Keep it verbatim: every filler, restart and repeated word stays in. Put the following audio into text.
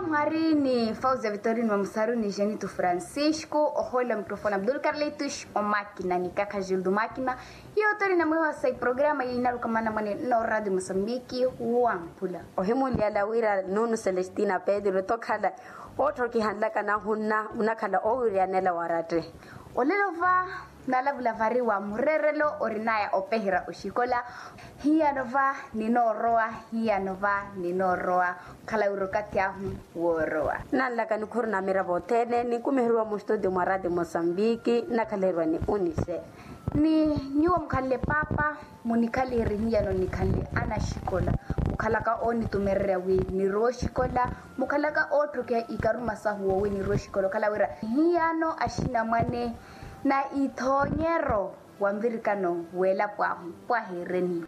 Mwari ni fausia vitorino mamusaru ni jenito francisco ohola mikrofone abdul carlitos omakina ni kakha jildo makina. Hiyo tori na mwiho wa sai programa yinaluka mana mwane no radio mosambiki. Wampula ohimunlyala wira nunu celestina pedro tokhala otthokihanlaka nahunna munakhala owiryanela waratte. Olelo va nalavula vari wa murerelo orinaya opeherya oxikola. Hiyano va ninoorowa. Hiyano va ninoorowa. Okhala wira okathi ahu woorowa. Nanlaka nikhuru na miravo othene ninkumiheriwa mustudio mwa radio mosambiki nakhaleriwa ni unise. Ni nyuwo mukhanle papa munikhaliheri hiyano nikhanle anaxikola mukhalaka oonitumererya wi nirowa oxikola mukhalaka ootthokya ikaruma sahu wowi nirowa oxikola okhala wira hiyano axinamwane na ithoonyero wa nvirikano w'elapo ahu pwahereni.